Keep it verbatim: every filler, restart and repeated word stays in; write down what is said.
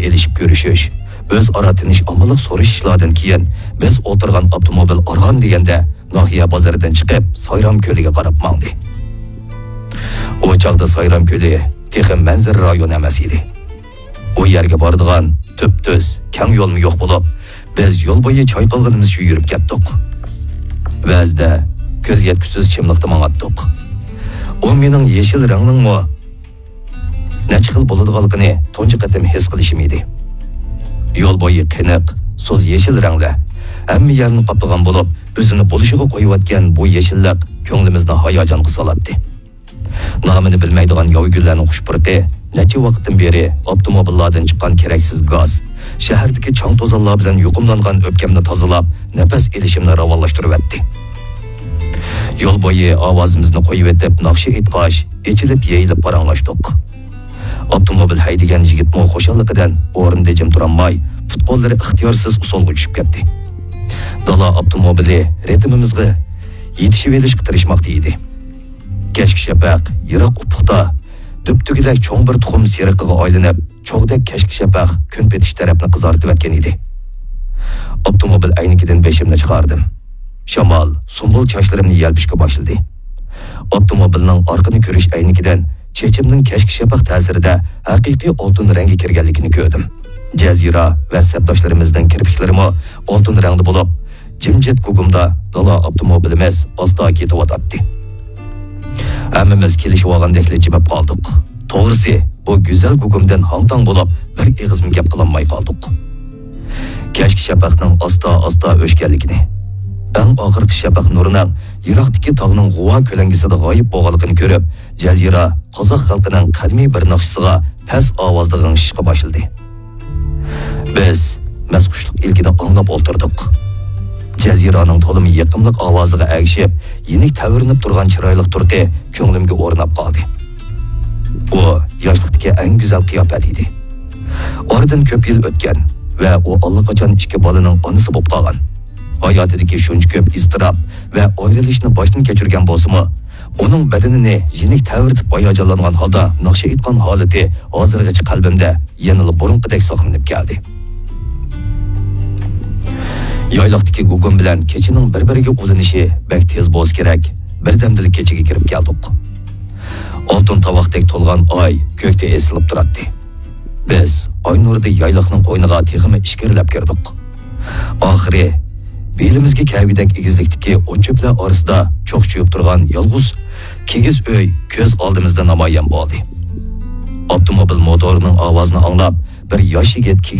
ئېلىشىپ كۆرۈشۈش، ئۆزئارا تىنچ-ئامانلىق سورىشىشلاردىن كېيىن، بىز ئولتۇرغان ئاپتوموبىل ئاران دېگەندە ناھىيە بازىرىدىن چىقىپ، سايرام كۆلىگە قاراپ ماڭدى. ئۇ چاغدا سايرام كۆلى تېخى مەنزىرە رايونى ئەمەس ئىدى. ئۇ يەرگە بارىدىغان تۈپتۈز، كەڭ يولمۇ يوق بولۇپ، بىز يول بويى چايقالغىنىمىزچە يۈرۈپ كەتتۇق. بەزىدە كۆز يەتكۈسىز چىملىقتا ماڭاتتۇق. ئۇ مېنىڭ يېشىل رەڭنىڭمۇ نەچچە خىل بولىدىغانلىقىنى تۇنجى قېتىم ھېس قىلىشىم ئىدى. يول بويى قېنىق، سۇس يېشىل رەڭلەر ھەممە يەرنى قاپلىغان بولۇپ، ئۆزىنى بولۇشىغا قويۇۋەتكەن بۇ يېشىللىق كۆڭلىمىزنى ھاياجانغا سالاتتى. نامىنى بىلمەيدىغان ياۋا گۈللەرنىڭ خۇش پۇرىقى نەچچە ۋاقىتتىن بېرى ئاپتوموبىللاردىن چىققان كېرەكسىز گاز، شەھەردىكى چاڭ-توزانلار بىلەن يۇقۇملانغان ئۆپكەمنى تازىلاپ، نەپەس ئېلىشىمنى راۋانلاشتۇرۇۋەتتى. يول بويى ئاۋازىمىزنى قويۇۋېتىپ ناخشا ئېيتقاچ، ئېچىلىپ-يېيىلىپ پاراڭلاشتۇق. ئاپتوموبىل ھەيدىگەن يىگىتمۇ خۇشاللىقىدىن ئورنىدا جىم تۇرالماي، پۇت-قوللىرى ئىختىيارسىز ئۇسسۇلغا چۈشۈپ كەتتى. دالا ئاپتوموبىلى رىتىمىمىزغا يېتىشىۋېلىشقا تىرىشماقتا ئىدى. كەچكى شەپەق يىراق ئۇپۇقتا دۈبدۈگىدەك چوڭ بىر تۇخۇم سېرىقىغا ئايلىنىپ، چوغدەك كەچكى شەپەق كۈن پېتىش تەرەپنى قىزارتىۋەتكەن ئىدى. ئاپتوموبىل ئەينىكىدىن بېشىمنى چىقاردىم. شامال سۇمبۇل چاچلىرىمنى يەلپۈشكە باشلىدى. ئاپتوموبىلنىڭ ئارقىنى كۆرۈش ئەينىكىدىن چېچىمنىڭ كەچكى شەپەق تەسىرىدە ھەقىقىي ئالتۇن رەڭگە كىرگەنلىكىنى كۆردۈم. جەزىرە ۋە سەپداشلىرىمىزنىڭ كىرپىكلىرىمۇ ئالتۇن رەڭدە بولۇپ، جىمجىت گۇگۇمدا دالا ئاپتوموبىلىمىز ئاستا كېتىۋاتاتتى. ھەممىمىز كېلىشىۋالغاندەكلا جىمىپ قالدۇق. توغرىسى، بۇ گۈزەل گۇگۇمدىن ھاڭ-تاڭ بولۇپ، بىر ئېغىزمۇ گەپ قىلالماي قالدۇق. كەچكى شەپەقنىڭ ئاستا-ئاستا ئۆچكەنلىكىنى، ئەڭ ئاخىرقى شەپەق نۇرىنىڭ يىراقتىكى تاغنىڭ غۇۋا كۆلەڭگىسىدە غايىب بولغانلىقىنى كۆرۈپ، جەزىرە قازاق خەلقىنىڭ قەدىمىي بىر ناخشىسىغا پەس ئاۋازدا غىڭشىشقا باشلىدى. بىز مەستخۇشلۇق ئىلكىدە ئاڭلاپ ئولتۇردۇق. جەزىرانىڭ تولىمۇ يېقىملىق ئاۋازىغا ئەگىشىپ، يېنىك تەۋرىنىپ تۇرغان چىرايلىق تۇرقى كۆڭلۈمگە ئورناپ قالدى. ئۇ ياشلىقتىكى ئەڭ گۈزەل قىياپەت ئىدى. ئارىدىن كۆپ يىل ئۆتكەن ۋە ئۇ ئاللىقاچان ئىككى بالىنىڭ ئانىسى بولۇپ قالغان. ھاياتىدىكى شۇنچە كۆپ ئىزتىراپ ۋە ئايرىلىشنى باشتىن كەچۈرگەن بولسىمۇ، ئۇنىڭ بەدىنىنى يېنىك تەۋرىتىپ ھاياجانلانغان ھالدا ناخشا ئېيتقان ھالىتى ھازىرغىچە قەلبىمدە يەنىلا بۇرۇنقىدەك ساقلىنىپ كەلدى. يايلاقتىكى گۇگۇم بىلەن كېچىنىڭ بىر-بىرىگە ئۇلىنىشى بەك تېز بولسا كېرەك، بىردەمدىلا كېچىگە كىرىپ كەلدۇق. ئالتۇن تاۋاقتەك تولغان ئاي كۆكتە ئېسىلىپ تۇراتتى. بىز ئاي نۇرىدا يايلاقنىڭ قوينىغا تېخىمۇ ئىچكىرىلەپ كىردۇق. ئاخىرى بېلىمىزگە كەلگۈدەك ئېگىزلىكتىكى ئوت-چۆپلەر ئارىسىدا چوقچىيىپ تۇرغان يالغۇز كىگىز ئۆي كۆز ئالدىمىزدا نامايان بولدى. ئاپتوموبىل موتورىنىڭ ئاۋازىنى ئاڭلاپ، بىر ياش يىگىت كىگىز